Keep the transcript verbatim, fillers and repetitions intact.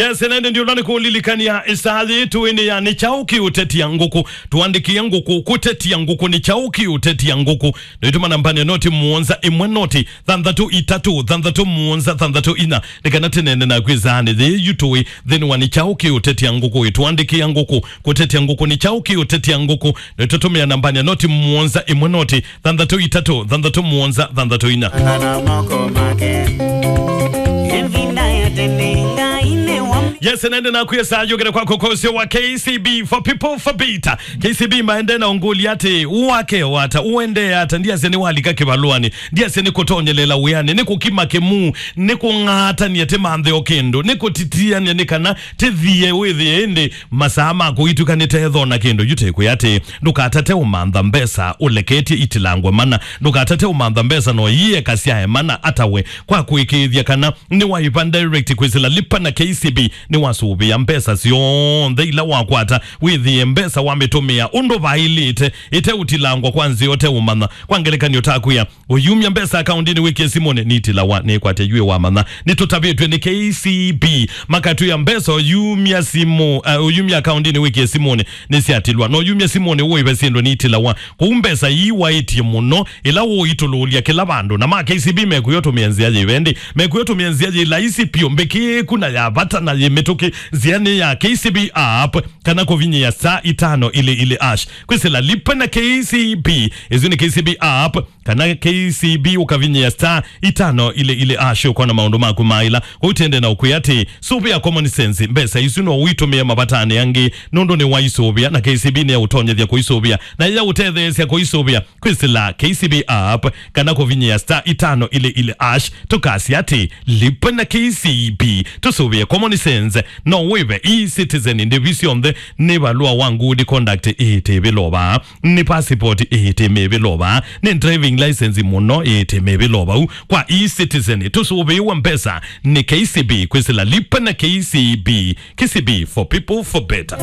Yes, na ĩndĩ ndiũla nĩ kũlilikania ĩsaa yĩĩ tũĩ nĩ ya nĩ kyaũ kĩũtetia ngũkũ. Tũandĩkĩe ngũkũ, kũtetia ngũkũ, nĩ kyaũ kĩũtetia ngũkũ. Nĩtũma nambani ya noti mũonza ĩmwe noti thanthatũ itatũ thanthatũ mũonza thanthatũ inya. Nĩ kana tũneene naku ĩsaanĩ yĩĩ yu tũĩ nthĩnĩ wa nĩ kyaũ kĩũtetia ngũkũ. Ĩtũandĩkĩa ngũkũ, kũtetia ngũkũ, nĩ kyaũ kĩũtetia ngũkũ. Nĩtũtũmĩa nambani ya noti mũonza ĩmwe noti thanthatũ itatũ thanthatũ mũonza thanthatũ inya. Ana na moko make. Ĩvinda ya tene Ngai nĩ wa. Yes, nende nakwĩa saa yũkĩte kwako kwa ũseo wa K C B for people for better. K C B maende na ũngũlya atĩ, wake wata, ũendee ata, ndiasya nĩ walika kĩvalũanĩ, ndiasya nĩ kũtonyelela wĩanĩ, nĩ kũkima kĩmuu, nĩ kũng'atania tĩmanthe o kĩndũ, nĩ kũtitiania nĩ kana tĩthie wĩthĩe ĩndĩ masaa ma kũituka nĩ tetho na kĩndũ. Yu tĩkwĩa atĩ, ndũkatate ũmantha mbesa ũleketye itilangwe mana, ndũkatate ũmantha mbesa no ieka syae mana atawe kwa kũĩkĩĩthya kana nĩ waiva direct kwĩsĩla Lipa na K C B. Nĩ wasũvĩa mbesa syonthe ila wakwata, wĩthĩe mbesa wamĩtũmĩa ũndũ vaĩlĩte, ĩteũtilangwa kwa nzĩa ũteũmanya. Kwa ngelekany'o, takwĩa ũyumya mbesa akaũndinĩ wĩkie simũnĩ, nitilawa, nĩkwate yu wamanya. Nĩtũtavĩtw'e nĩ K C B, makatwĩa mbesa ũyumya simũ, uh, ũyumya akaũndinĩ wĩkie simũnĩ nĩsyatilwa, na ũyumya simũnĩ ũive syĩndũ nitilawa. Kũu mbesa ii waĩtye mũno, ĩla ũitũlũlya kĩla vandũ. Na ma K C B mekwĩa ũtũmĩe nzĩa yĩva ĩndĩ? Mekwĩa ũtũmĩe nzĩa yĩ laisi piũ, mbĩkĩĩku na ya vata na yĩ mĩtũkĩ. Nzĩa nĩ ya K C B app kana kũvinyĩa star itano ili ili hash. Kwĩsĩla Lipa na K C B, ĩsu nĩ K C B app kana K C B, ũkavinyĩa star itano ili ili hash, ũkona maũndũ maku maĩla. Kũu tĩende na ũkwĩa atĩ, sũvĩa common sense, mbesa isu no ũitũmĩe mavatanĩ angĩ, nũndũ nĩ waisũvĩa, na K C B nĩ ya ũtonyethya kũisũvĩa, na ya ũtetheesya kũisũvĩa. Kwĩsĩla K C B app kana kũvinyĩa star itano ili ili hash, tũkasya atĩ, Lipa na K C B. Tũsũvĩe common sense, no wĩve e-citizen ndĩvi syonthe, nĩ valũa wa good conduct ĩtĩvĩlova, nĩ passport ĩtĩmĩvĩlova, nĩ driving license mũno ĩtĩmĩvĩlova. Kwa e-citizen tũsũvĩĩwe mbesa nĩ K C B. Kwĩsĩla Lipa na K C B. K C B, for people for better.